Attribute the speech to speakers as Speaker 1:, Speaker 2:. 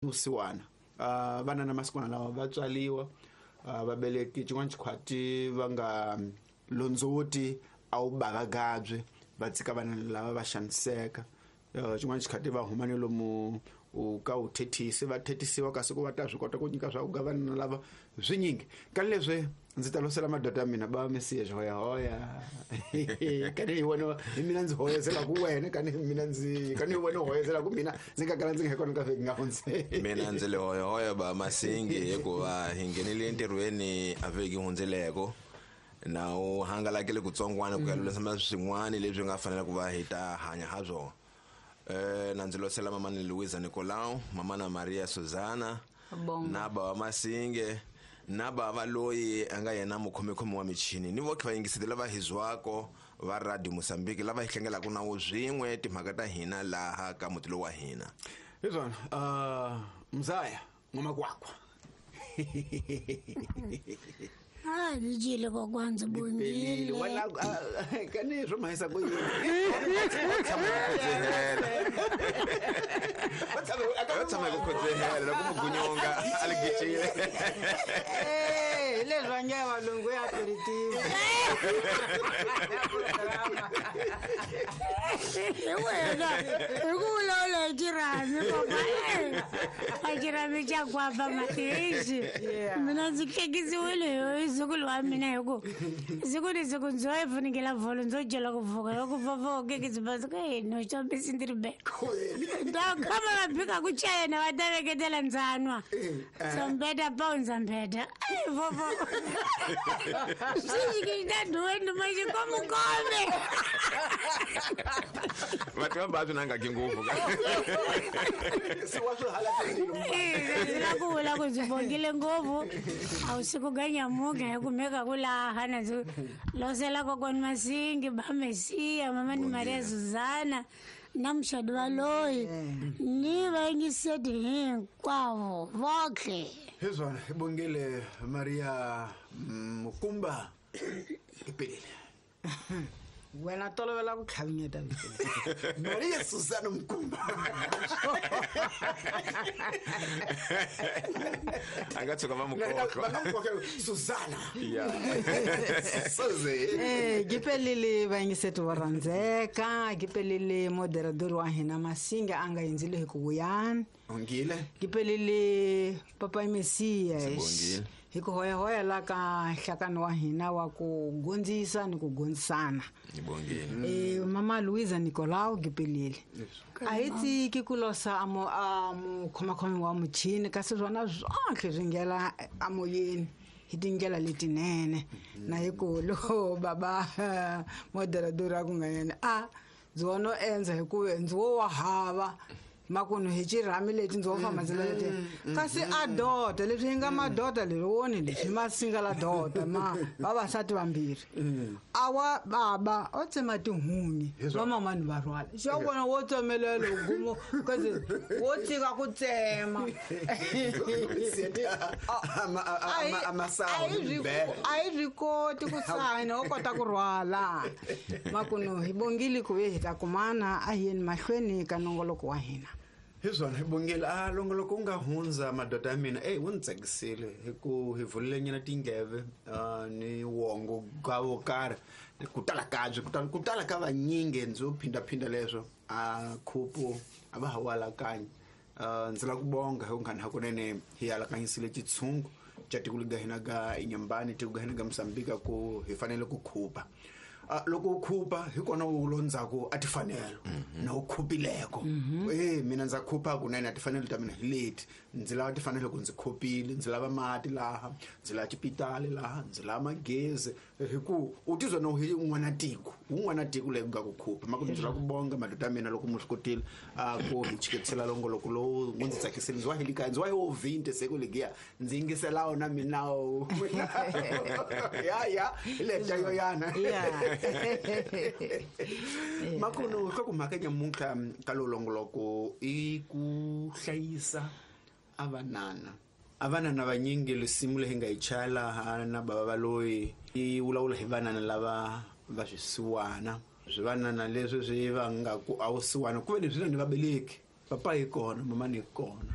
Speaker 1: Vusiwana. Vana na masikwana lawa va tswaliwa, vabeleki xin'wana xikhwati va nga londzoti a wu bavagabye, va tshika vana lava va xaniseka. Xin'wana xikhati va huma ni lomu u ka u thethisi, va thethisiwa kasi ku va ta swi kota ku nyika swa ku ga vana lava swinyingi. Ka leswi ndzi ta losela madoda ya mina ba mesiya xihoyahoya. Kani hi wena hi mina ndzi hoyezelaku wena, kani hi mina ndzi kani hi wena u hoyezelaku mina, ndzi nga kala ndzi nga kona ka vhiki nga hundzi.
Speaker 2: Mina ndzi le hoyahoya ba Masingi hikuva hi nghenile entirhweni a vhiki hundzeleko na u hangalakile kutsongwana ku ya lulamisa swin'wana leswi nga fanela ku va hi ta hanya ha swona. Na ndzi losela mamani Luisa Nicolau, mamana Maria Susana,
Speaker 3: Bongo.
Speaker 2: na bava Masinge, na bava loyi a nga yena mukhomekhomi wa michini, ni voke vayingiseti lava hi zwako va Radio Mozambique lava hi hlengelaka na wo swin'we timhaka ta hina laha ka muti lowu wa hina.
Speaker 1: Hi swona, Mzaya N'wamakwakwa.
Speaker 4: Ah, dijile kokwanza
Speaker 1: Pelile.
Speaker 4: bongile.
Speaker 1: Wena, kani swo mahisa ku yini?
Speaker 2: Va tshama hi ku khodzehela loko mugunyonga a li gicile.
Speaker 5: Eh, leswi va nge valungu ya aperitivo.
Speaker 4: Hi wena, hi ku vulavula hi xirhami, papa. A xirhami xa kwapa matihisi. Mina ndzi hlekisiwile hi zukulu wa mina hi ku siku ni siku ndzo yi funengela vholo ndzo dyela ku pfuka loko papa u kekisi basi ku hey, no xambisi ndzi ri beko. Ta khama va bika ku chayena va ta veketela ndzanwa. Ndzambeta pa ndzambeta. Ai vovo. Swi xi ta duwe nduma xi komukome.
Speaker 2: Va tiva va swi nangaki ngopfu.
Speaker 1: Se wa swi hala swilo.
Speaker 4: Eh, ndzi la ku vula ku ndzi bongile ngopfu. A wu siku ga nyamuka hi kumeka ku laha na ndzi losela kokwani Masingi, ba Mesiya, mama ni Maria Susana na muxadi wa loyi ni vayingiseti hinkwavo votlhe.
Speaker 1: Hi swona, hi bongile Maria Mukumba. I pelile.
Speaker 5: Wena tolovela ku tlhavinyeta vito leri.
Speaker 1: Maria Susana Mukumba.
Speaker 2: A nga tshuka va mukhohlwa.
Speaker 1: Va nga mukhohlwa Susana.
Speaker 2: Yeah.
Speaker 1: Suze.
Speaker 5: Eh, ke pelile vayingiseti vo rhandzeka, ke pelile moderador wa hina Masinga a nga hindzile hi ku vuyani.
Speaker 1: Ongile.
Speaker 5: Ke pelile Papa Mesiya.
Speaker 2: Sibongile.
Speaker 5: Hi ku hoyahoya la ka nhlakano wa hina wa ku gondzisa ni ku gondzisana.
Speaker 2: Ni bongile.
Speaker 5: Mama Luisa Nicolau ke pelile. A hi tiki ku losa a a mukhomakhomi wa muchini kasi swona swotlhe swi nghena emoyeni hi tindlela letinene. Na hi ku loko baba moderador a ku nga yena, a ndzi wo no endza hi ku ndzi wo wa hava makunu hi xirhami leti ndzi wo famba ndzi leti. Kasi a dota leswi hi nga madota leri woni leswi ma singa la dota ma vavasati vambirhi. A wa baba o tsema tihunyi va mamani va rhwala. Xa vona wo tsemelela gumo kasi wo tshika ku tsema. A hi swi koti ku sayina, wo kota ku rhwala. Makunu hi bongile ku ve hi ta kumana a hi yeni mahlweni ka nongoloko wa hina.
Speaker 1: Hi swona hi bongile a longoloko wu nga hundza madoda ya mina, ey wu ni tsakisile hi ku hi vulile nyana tindleve, ni wongo ga wo karhi ku tala ka byi, ku tala, ku tala ka vanyingi ndzi wo phindaphinda leswo a khupu a va ha wu alakanyi. Ndzi lava ku bonga hi ku nghana hakunene hi alakanyisile xitshungu xa tiko lega hina ga Inhambane, tiko ga hina ga Mozambique ku hi fanele ku khupa. Loko u khupa hi kona u londzhaku a tifanelo na u khupileko. Mina ndza khupa kunene a tifanelo ta mina hi leti. Ndzi lava tifanelo ku ndzi khupile, ndzi lava mati laha, ndzi lava xipitali laha, ndzi lava magezi. Hi ku u tizwa na hi un'wana tiko, un'wana tiko leyi ku nga ku khupa. Maku ndzi lava ku bonga madoda ya mina loko mi swi kotile, ku hi chiketisela longoloko lowu wu ndzi tsakisile. Ndzi wa hi le kaya, ndzi wa hi wo vinte se ku legiya. Ndzi yingisela wona mina wo. Ya, ya, hi le ta yo yana. Makuno ka ku mhaka nyamuntlha ka lowu longoloko i ku hlayisa a vanana. A vanana vanyingi risimu leyi hi nga yi chaya laha na bava va loyi yi vulavula hi vanana lava va swisiwana. Swivanana leswi swi va nga ku a wu siwana ku ve leswi na ni vabeleki. Papa yi kona, mama ni kona.